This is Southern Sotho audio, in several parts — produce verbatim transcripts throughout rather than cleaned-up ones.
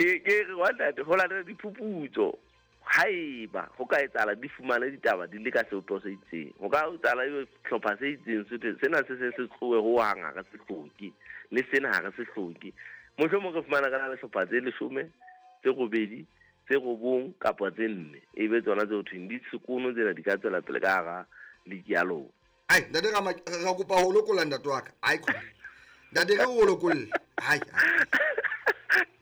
Ke ke re wa ntate, ho latela diphuputso, haeba ho ka etsahala di fumane ditaba di le ka sebopeho se itseng, ho ka etsahala ebe hlopha se itseng se thwe sena se se se tlohe hohang, ha re se hloke, le sena ha re se hloke. Mohlomong re fumana ka na le hlopha tse leshome, tse robedi, tse robong kapa tse nne, ebe tsona tse ho thweng di sekono tsena di ka tswela pele ka hara league ya lona. Ai ntate, ra ra kopa ho lokolla ntate wa ka. Ai ntate, re o lokolle. Ai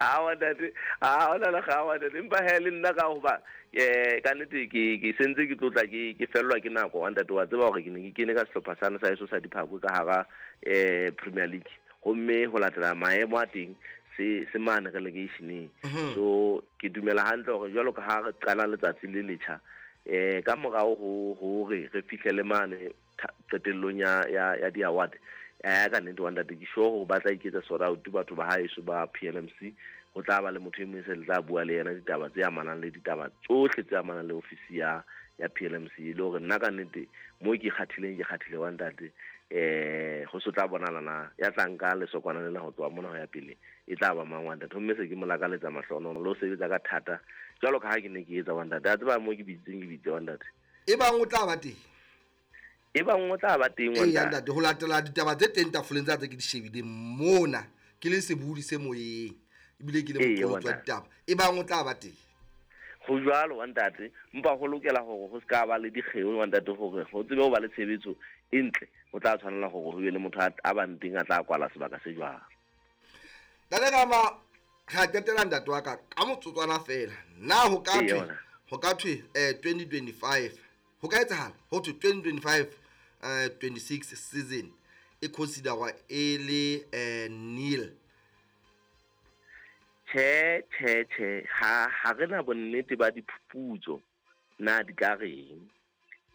awa ntate, a ona le ga wa ntate, empa he le nna ka hoba eh ka nnete ke ke sentse ke tlotla ke ke fellwa ke nako wa ntate. Wa tseba hore ke ne ke kene ka sehlopha sane sa heso sa Diphakwe ka hara eh Premier League, homme ho latela maemo a teng se se mane relegationeng. So ke dumela hantle hore jwalo ka ha re qala letsatsi le letjha, eh ka morao ho hore re fihlele mane qetellong ya ya ya di-award, eh ka nnete wa ntate, ke sure hore ba tla iketsa sort out batho ba haeso ba P L M C. Ho tla ba le motho e mong se le tla bua le yena ditaba tse amanang le ditaba tsohle tse amanang le ofisi ya ya P L M C, le hore nna ka nnete mo ke kgathileng ke kgathile wa ntate. Eh ho so tla bonala na ya tla nka lesokwana lena ho tloha mona ho ya pele e tla ba mang wa ntate. Homme se ke mo lakaletsa mahlohono le ho sebetsa ka thata jwalo ka ha ke ne ke etsa wa ntate. A tseba mo ke bitseng ke bitse wa ntate, e bang o tla ba teng, e bang o tla ba teng wa ntate. Ho latela ditaba tse teng tafoleng tsa tse ke di shebileng mona, ke le sebudi se moyeng ebile ke le moqolotsi wa ditaba, e bang o tla ba teng. Ho jwalo wa ntate, empa ho lokela hore ho ska ba le dikgeo wa ntate, hore ho tsebe ho ba le tshebetso e ntle, ho tla tshwanela hore ho be le motho a bang teng a tla kwala sebaka se jwalo. Ntate Rama, ra qetela ntate wa ka ka motsotswana fela. Na ho ka thwe ho ka thwe eh twenty twenty-five ho ka etsahala ho thwe twenty twenty-five eh twenty-six season e considerwa e le eh nil? Che che che ha ha re na bonnete ba diphuputso na di ka reng,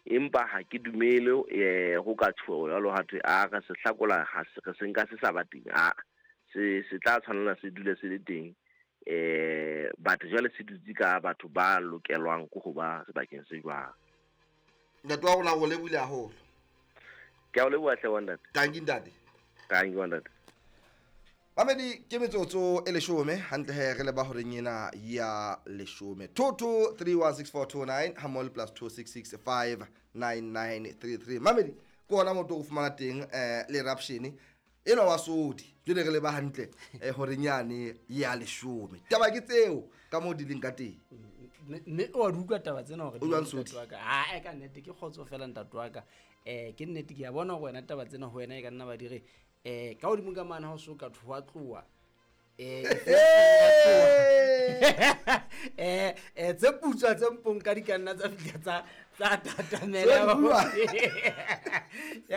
empa ha ke dumele eh ho ka tjho jwalo ha thwe a re se hlakola, ha se re se nka se sa ba teng, a se se tla tshwanela se dule se le teng. Eh batho jwale se dutse ka batho ba lokelwang ke ho ba sebakeng se jwang. Ntate wa rona o lebohile haholo. Ke a o leboha hle wa ntate. Thank you ntate. Thank you wa ntate. Mamedi ke metsotso e leshome hantle he re le ba horeng ena ya leshome. two two three one six four two nine hamol plus two six six five nine nine three three. Mamedi ke ona motho o fumana teng eh le eruption eno wa sodi jwale re le ba hantle eh horeng yane ya leshome. Taba ke tseo ka mo di leng ka teng. Mme o a utlwa taba tsena hore ntate wa ka. Ha e ka nnete ke kgotso fela ntate wa ka. Eh ke nnete ke a bona hore wena taba tsena ho wena e ka nna ba dire eh ka hodimo ka mana ha o so ka thwa tloa eh eh eh tse putswa tse mpong ka di ka nna tsa fihla tsa tsa tatamela ya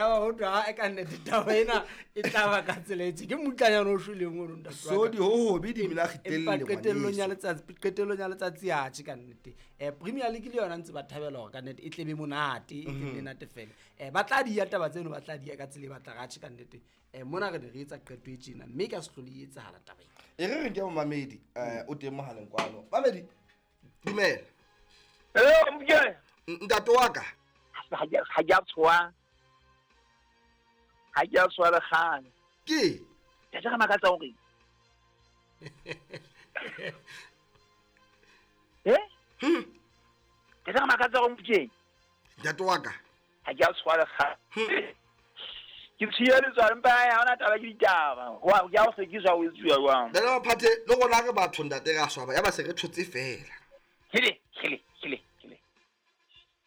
ba ho twa e ka nnete taba ena e tla ba ka tsela e tje ke mutlanyana o shweleng o ntate so di ho hobe di mela kgitelle qetellong ya letsatsi qetellong ya letsatsi ya tje ka nnete. Eh Premier League le yona ntse ba thabela hore ka nnete e tlebe monate e tlebe nate fela. Eh ba tla di ya taba tseno ba tla di ya ka tsela e batla ga tje ka nnete. Eh mona re re etsa qeto e tjena mme ka se hlole e etsahala taba ena. E re re ke mamedi eh o teng mohaleng kwano. Mamedi dumela. Hello mke. Ntate wa ka. Ha ke ha ke a tshwa. Ha ke a tshwa le kgane. Ke? Ke tla makatsa hore. Eh? Hm. Ke tla makatsa hore mke. Ntate wa ka. Ha ke a tshwa le kgane. Ke tshiya letswalo mpa ha ona taba ke ditaba. Wa ke a o sekiswa o etsuwa jwang. Ntate wa Phathe le rona re batho ntate re a swaba ya ba se re thotse fela. Hele hele hele hele.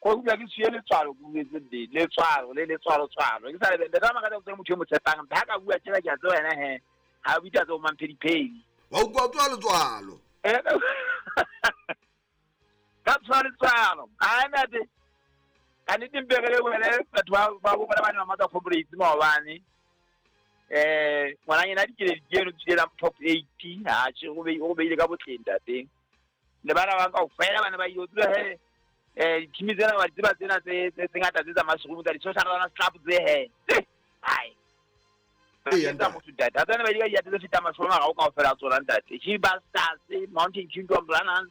Ko utlwa ke tshiya letswalo ke buetse nnete letswalo le letswalo tswalo. Ke sa le ntate makatsa o motho e mo tshepang ba ka bua tjela ke a tseba wena he. Ha o bitsa tse o mamphediphedi. Wa utlwa tswa letswalo. Eh ka tswa letswalo. A ntate ka nnete mpe re le wena batho ba ba bona ba ne ba matla corporate maobane. Eh ngwananyana dikele dikeno tsela top eight ha tje go be go beile ka botleng ntate. Le bana ba kaofela bana ba yo tswa he eh team tsena ba tseba tsena tse tse ngata tse tsa mashroom tsa di social rana club tse he. Hai. Ee ntate motho ntate. Ha tsena ba di ka di tse feta mashroom ga o kaofela tsona ntate. Chiba Stars, Mountain Kingdom Runners.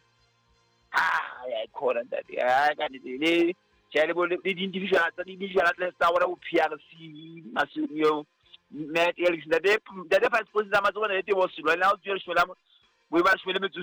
Ah ya khona ntate. Ha ka nnete le tjhe le bo le di-individual tsa di-individual athletes tsa bona bo P R C Masunyo Matt Ellis ntate ntate vice president tsa matsoho ntate bo Silwane ha o tswe shwela bo ba shwele metso